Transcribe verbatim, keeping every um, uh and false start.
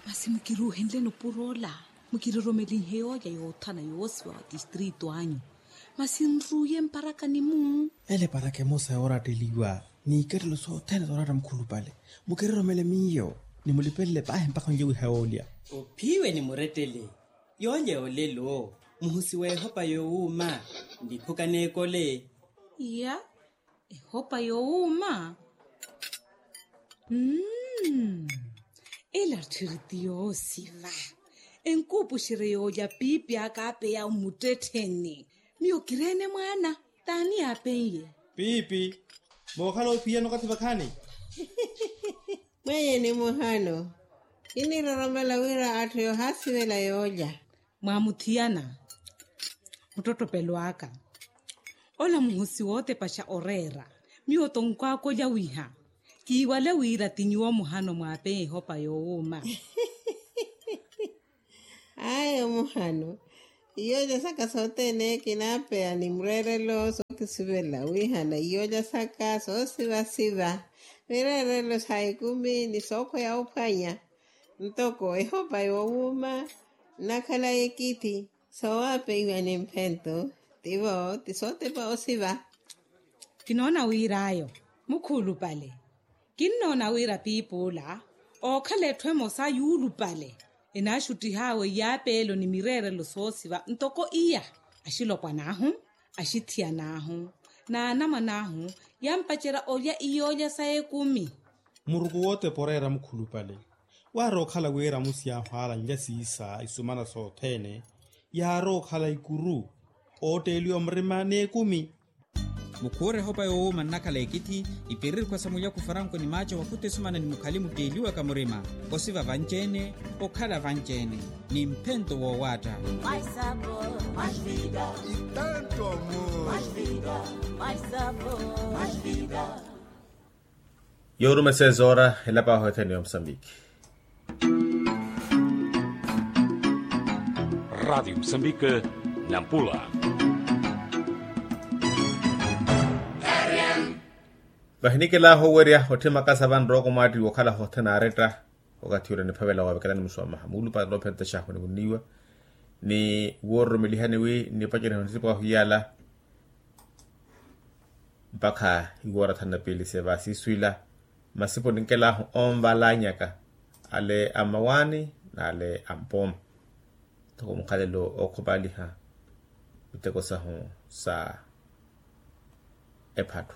Masi mukiruuhenleni opur'ola, mukiroromelinhe yoolya yoothana yoosiwa wa tistrito anyu. Masi nruuye mparakani-mu. Ele eparaka emosa yooratteliwa n'ikattelo sothene zooratta mukhulupale. Mukiroromele miyo, nimulipelele paahi mpakha onlye wiha yoolya. Ophiwe ni murettele. Yoolya yoolelo muhusi w'ehopa yoowuuma. Ndiphuka n'ekole. Iya. Ehopa yoowuuma. Mmm. Ela tthiri ti yoosiva. Enkuupuxerye yoolya piipi aka aapeya mmuttettheni. Miyo kireene mwaana. T'ani yaapen'ye? Piipi. Mookhala ophiyana okathi vakhaani? Mwenye ni muhano. Kiniroromela wira atthu yoohaasivela yoolya. Mwaamuthiyana. Muttottopelo aka. Ola muhusi wootepaxa oreera. Miyo tonkwaaka olya wiha. Kiiwale wira ti nyuwo muhano mwaapeya ehopa yoowuuma. Ayo muhano. Iyoolya saka sothene kinaapeya ni mureerelo sookisivela wihana iyoolya saka soosivasiva. Mireerelo sa ekumi ni sookhweya ophwanya. Ntoko ehopa yoowuuma nnakhala ekithi soowapeiwa ni mphento. Tivo ti sootepa osiva. Kinoona wir'ayo mukhuulupale. Kinnoona wira piip'ula ookhala etthu emosa yuulupale. Enaaxuttih'awe iyaapeelo ni mireerelo soosiva ntoko iya. Axilopwan'ahu, axithiyan'ahu, n'anamwan'ahu yaampacerya olya iyoolya sa ekumi. Muruku wootepa oreera mukhulupale. Waarookhala wira amusi yaahu aalanlya siisa isumana sothene. Yaarookhala ikuru ootteeliwa murima n'ekumi. Mukhuure ehopa yoowuuma nnakhala ekithi. Ipiririkhwa sa mulyaku faranko ni maaco wakhuta esumana ni mukhali mutteeliwaka murima. Osiva vanci-ene, okhala vanci-ene ni mphento woowaatta. Yoorumesa ezoora elapaahu ethene ya musambiki. Ratio musambiki. Nampula. Vahinikelaahu owerya otthi makasa vanrooko mwaattiwa okhala hothene aretta. Okathi ula niphavela waavekelani musuwamaha muulupale noophenta xaahu niwunniwa ni woororomelihani wi nnipacerya nitipwaahu iyala. Mpakha iwoora thanu na piili seva siiswila masipo ninkelaahu onvalanyaka ale a mmawaani n'ale a mpooma. Ntoko mukhalelo ookhupaaliha miteko sahu sa ephattu.